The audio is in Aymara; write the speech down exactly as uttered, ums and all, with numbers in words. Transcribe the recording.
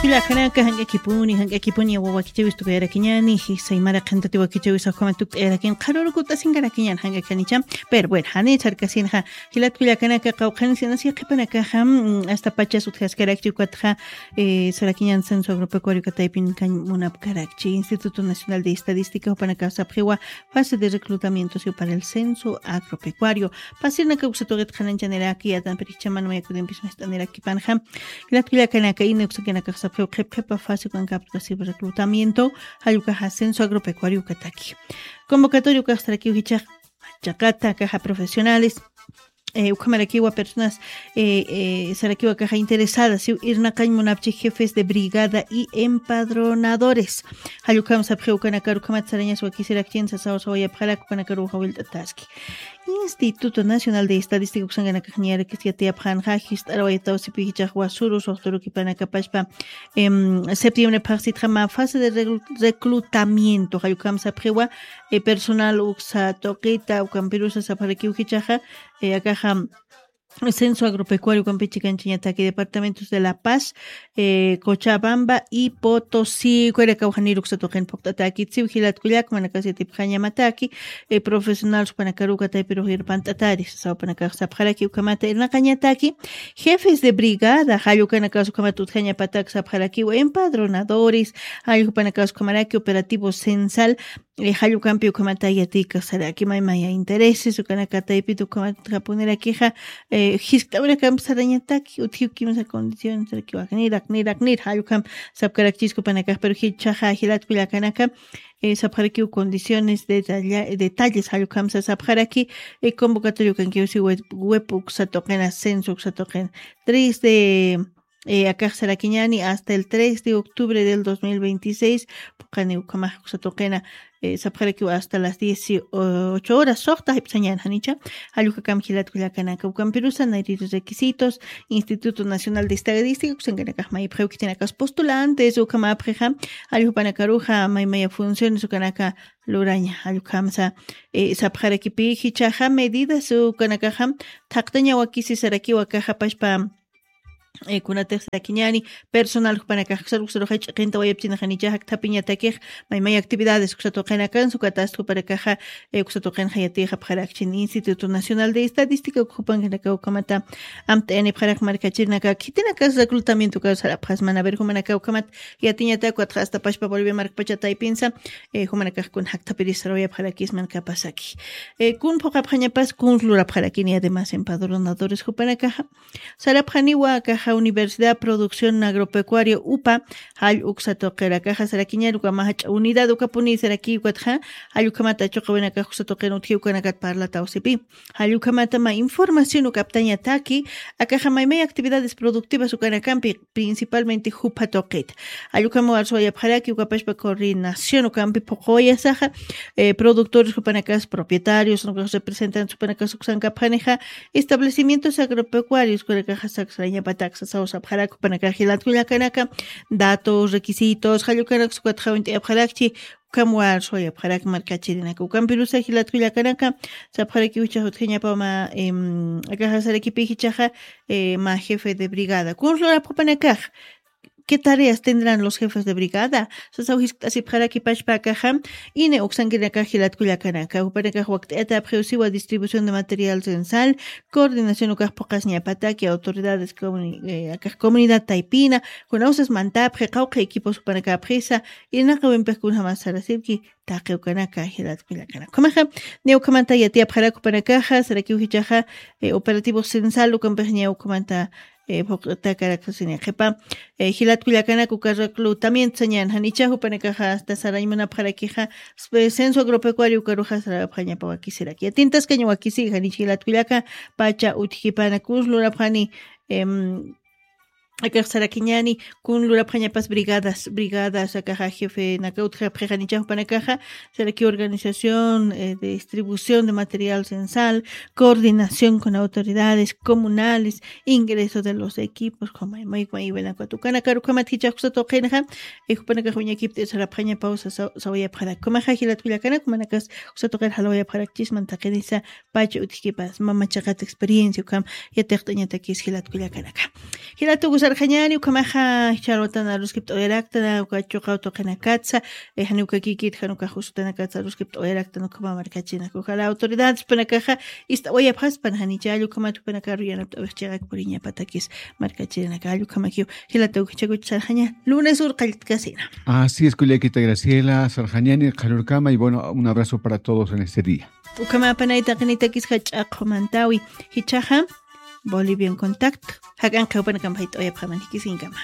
Kullakanaka, jank'akipuni, jank'akipuni, wawakichawis tukuyarakiñani, jisay maraqantati wakichawis, ajkama tukt'ayarakin, qharurukut'asinkarakiñan, jank'akanicha. Pero bueno, jani sarkasinxa, jilat kullakanaka, qawqhanis inasi qhipanakaxa, mm, hasta pachas utjaskarakchi ukatxa, eh, sarakiñan censo agropecuario kataypin kañ munapkarakchi, Instituto Nacional de Estadística, jupanaka sapxiwa, fase de reclutamiento, sí, para el censo agropecuario. Pasirnaka uksa tuqit qhananchaniraki, yatan pirikchaman mayakudinpis mist'anirakipanxa. Jilat kullakanaka, ina uksakanaka sapxiw qhip qhipa fase ukankapkasiw reclutamiento, jall ukaxa censo agropecuario ukataki. Convocatoria ukax sarakiw jichhax, chaqata, caja profesionales, eh, ukhamarakiwa personas, eh, eh, sarakiwa kaja interesadas, siw irnaqañ munapchi jefes de brigada y empadronadores. Jall ukham sapxiw ukanakaru ukhamat sarañas wakisirakchin sasaw sawayapxarak ukanakaru uja wilt'ataski. Instituto Nacional de Estadística uksankanakax ñarakis yatiyapxanxa, jist'arawayataw sipi jichhax wasuru suxturukipanakapaspa, em, septiembre phaxsitxa mä fase de reclu-, reclutamiento, jall ukham sapxiwa, eh, personal uksa tuqita, ukampirusa sapxarakiw jichhaxa, eh, akaxa, censo agropecuario ukampichi kanchañataki departamentos de La Paz, eh, Cochabamba y Potosí, ukharakawjanir uksa tuqin phuqt'atakit siw jilat kullak, jupanakax yatipxañamataki, eh, profesional jupanakaru ukataypirux irpant'atari, sasaw jupanakax sapxaraki ukhamata irnaqañataki, jefes de brigada, jall ukanakas ukhamat utjañapatak sapxarakiw empadronadores, jall jupanakas ukhamaraki operativo censal, eh, jall ukampi ukhamata yatikax saraki maymaya intereses, ukanaka taypit ukhamat kapunirakixa, eh, jiskt'awirakamp sarañataki, utjiw kimsa condiciones, saraki waknirak, nirak, nir, jall ukham sapkarakchis jupanakax, pero jichhaxa jilat kullakanaka, eh, sapxarakiw condiciones, detalla-, detalles, jall ukham sa sapxaraki, eh, convocatoria ukankiw si web, web uksa tuqina, censo uksa tuqina, tres de eh, akax sarakiñani hasta el tres de octubre del dos mil veintiséis, puqani ukhamax uksa tuqina, eh, sapxarakiw hasta las dieciocho horas, suxta jipsañan janicha, jall ukakam jilat kullakanaka, ukampirusa nayri requisitos, Instituto Nacional de Estadística, uksankanakax mayipxiw khitinakas postulantes, ukhamapxixa, jall jupanakaruxa, maymaya funciones, ukanaka luraña, jall ukhamsa, eh, sapxarakipi, jichhaxa medidas, ukanakaxa, thaqtaña wakisi sarakiw akaxa pachpa, eh, kunatix sarakiñani, personal jupanakax uksaruxa ch'iqinta wayapchinaxanicha jakthapiñatakix, maymay actividades uksa tuqinakan, ukatasti jupanakaxa, eh, uksa tuqinxa yatixapxarakchin Instituto Nacional de Estadística, uk jupankanaka ukhamata amt'ayanipxarak markachirinaka, khitinakas reclutamiento ukaru sarapxasman, a ver, jumanaka ukhamat yatiñatak, ukatxa hasta pachpa Bolivia markpacha taypinsa, eh, jumanakax kun jakthapiris sarawayapxarakisman kapasaki. Eh, kun phuqapxañapas, kun lurapxarakini, además, empadronadores jupanakaxa, sarapxaniwa akaxa Universidad Producción Agropecuaria UPA, jall uksa tuqirakaxa sarakiñar, uka mä jach'a unidad ukapuni saraki, ukatxa, jall ukhamata chuqawinakax uksa tuqin utji ukanakat parlataw sipi. Jall ukhamata mä información ukaptañataki, akaxa maymay actividades productivas ukanakampi, principalmente jupa tuqita. Jall ukham warsuwayapxaraki, ukapachpa coordinación ukampi phuqhuwayasaxa, eh, productores jupanakas, propietarios, ukax representantes jupanakas uksankapxanixa, establecimientos agropecuarios, ukanakaxa saksarañapatak sasaw sapxarak, jupanakax jilat kullakanaka, datos, requisitos, jall ukanakas ukatxa uñt'ayapxarakchi, ukham warsuwayapxarak markachirinaka. Ukampirusa jilat kullakanaka, sapxarakiw jichhax utjañapa mä, em, akaxa sarakipi jichhaxa, eh, mä jefe de brigada. Kun lurapxapanakax, ¿qué tareas tendrán los jefes de brigada? Sasaw jiskt'asipxaraki pachpa akaxa, ina uksankirinakax jilat kullakanaka. Jupanakax wakt'ayatapxiw siwa distribución de material censal, coordinación ukax phuqasiñapataki, autoridades comuni-, eh, akax comunidad taypina, kunawsas mantapxi, qawqha equipos jupanakapxisa, irnaqiwimpix kunjamas sarasipki, taqi ukanaka, jilat kullakanaka. Ukhamaxa, niya ukhamata yatiyapxarak jupanakaxa, sarakiw jichhaxa, eh, operativo censal, ukampix niya ukhamata, eh, phuqt'akarakasini qhipa, eh, jilat kullakanaka, uka reclutamiento sañan janicha, jupanakaxa hasta sarañ munapxarakixa, spe-, censo agropecuario ukaruxa sarapxañapa wakisirak. Yatintaskañ wakisi, janich jilat kullaka, pacha utjkipana, kun lurapxani, em, akax sarakiñani, kun lurapxañapas brigadas, brigadas, akaxa jefenaka utjapxi janicha jupanakaxa, saraki organización, eh, de distribución de material censal, coordinación con autoridades comunales, ingreso de los equipos, jumay, may, may, buena, cuatro, ukanakaru ukhamat jichhax uksa tuqinxa, eh, jupanakax wiñakipt'i sarapxañapaw sa-, sa-, sawayapxarak. Ukhamaxa jilat kullakanaka, jumanakas uksa tuqir jalawayapxarakchisman taqinisa, pacha utjkipas, mama chaqat experiencia, ukham yatiqt'añatakis jilat kullakanaka. Jilat uka sarxañani ukhamaxa. Ch'alwatan aruskipt'awayaraktana uka chuqaw tuqinakatsa, janiw kakikit jan uka jusutanakatsa aruskipt'awayaraktana ukhama markachirinaka ujala autoridadespanakaxa ist'awayapxaspan janicha allukhamatukpanakaru yanapt'awix chiqak puriñapatakis. Markachirinaka allukhamakiw. Jilata ukachakuch sarxaña lunes ur qalltkasina. Así es, kullakita Graciela sarxañani qharurkama y bueno, un abrazo para todos en este día. Ukhamapanay taqinitakis jach'a qhumantawi. Jichaxa Bolivian Contact jak'an qhiwpanakam jayt'awayapxaman jikisinkama.